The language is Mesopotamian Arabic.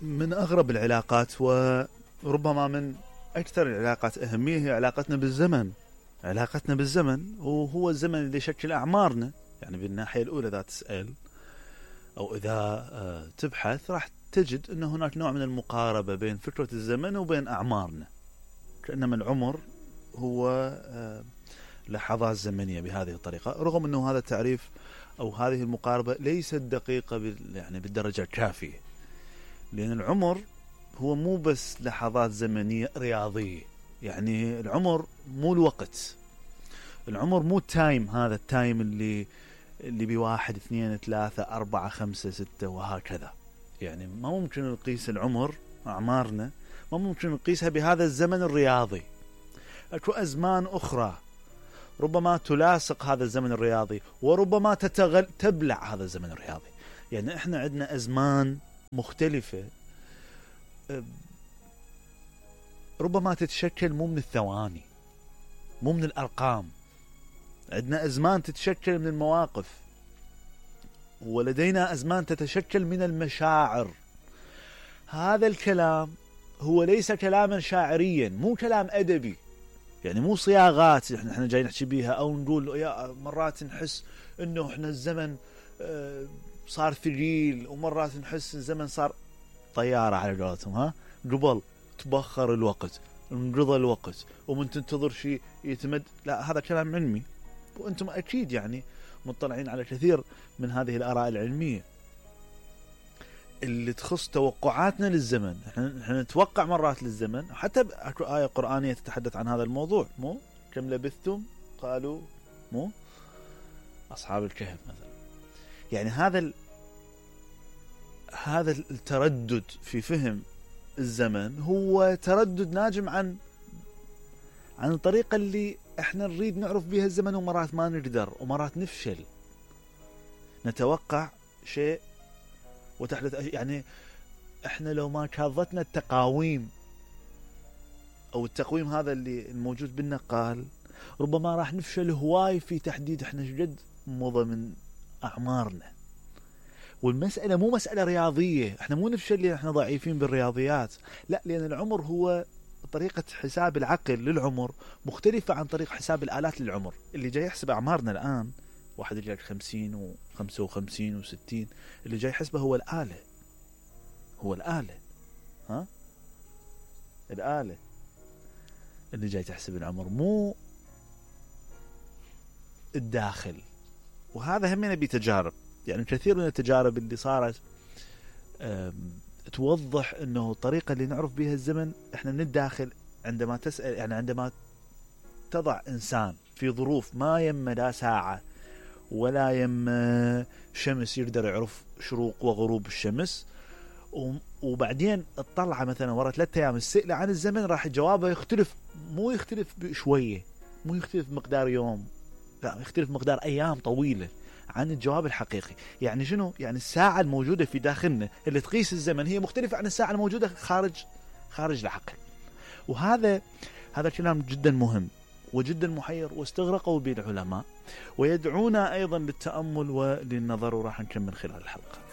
من أغرب العلاقات وربما من أكثر العلاقات أهمية هي علاقتنا بالزمن. علاقتنا بالزمن وهو الزمن اللي يشكل أعمارنا. يعني بالناحية الأولى إذا تسأل أو إذا تبحث راح تجد أن هناك نوع من المقاربة بين فكرة الزمن وبين أعمارنا، كأنما العمر هو لحظات زمنية بهذه الطريقة، رغم أنه هذا التعريف أو هذه المقاربة ليست دقيقة يعني بالدرجة الكافية، لأن العمر هو مو بس لحظات زمنية رياضية. يعني العمر مو الوقت، العمر مو التايم، هذا التايم اللي بواحد اثنين ثلاثة أربعة خمسة ستة وهكذا. يعني ما ممكن نقيس العمر أعمارنا ما ممكن نقيسها بهذا الزمن الرياضي. أكو أزمان أخرى ربما تلاصق هذا الزمن الرياضي وربما تبلع هذا الزمن الرياضي. يعني احنا عندنا أزمان مختلفة ربما تتشكل مو من الثواني، مو من الأرقام. عندنا أزمان تتشكل من المواقف، ولدينا أزمان تتشكل من المشاعر. هذا الكلام هو ليس كلاما شاعريا، مو كلام أدبي، يعني مو صياغات احنا جاي نحكي بيها او نقول يا مرات نحس انه احنا الزمن صار ثقيل، ومرات نحس الزمن صار طيارة على قولتهم، قبل تبخر الوقت، انقضى الوقت ومن تنتظر شيء يتمد. لا، هذا كلام علمي، وانتم اكيد يعني مطلعين على كثير من هذه الآراء العلمية اللي تخص توقعاتنا للزمن. احنا نتوقع مرات للزمن، حتى اكو آية قرآنية تتحدث عن هذا الموضوع، مو كم لبثتم قالوا مو أصحاب الكهف مثلا. يعني هذا التردد في فهم الزمن هو تردد ناجم عن الطريقة اللي احنا نريد نعرف بها الزمن، ومرات ما نقدر، ومرات نفشل نتوقع شيء وتحدث. يعني احنا لو ما كاظتنا التقاويم او التقويم هذا اللي الموجود بالنقال، ربما راح نفشل هواي في تحديد احنا شقد مضى من اعمارنا. والمسألة مو مسألة رياضية، احنا مو نفشل لان احنا ضعيفين بالرياضيات، لا، لان العمر هو طريقة حساب العقل للعمر مختلفة عن طريقة حساب الآلات للعمر. اللي جاي يحسب أعمارنا الآن، واحد يجيك 50 و55 و60، اللي جاي يحسبه هو الآلة، الآلة اللي جاي تحسب العمر، مو الداخل. وهذا همنا بتجارب، يعني كثير من التجارب اللي صارت توضح انه الطريقة اللي نعرف بها الزمن احنا من الداخل. عندما تسأل، يعني عندما تضع انسان في ظروف ما يم لا ساعة ولا يم شمس يقدر يعرف شروق وغروب الشمس، وبعدين اطلع مثلا ورا 3 أيام السئلة عن الزمن، راح جوابه يختلف، مو يختلف بشوية، مو يختلف مقدار يوم، لا، يختلف مقدار أيام طويلة عن الجواب الحقيقي. يعني شنو؟ يعني الساعة الموجودة في داخلنا اللي تقيس الزمن هي مختلفة عن الساعة الموجودة خارج العقل. وهذا كلام جدا مهم وجدا محير، واستغرقوا به العلماء، ويدعونا أيضا للتأمل وللنظر، وراح نكمل خلال الحلقة.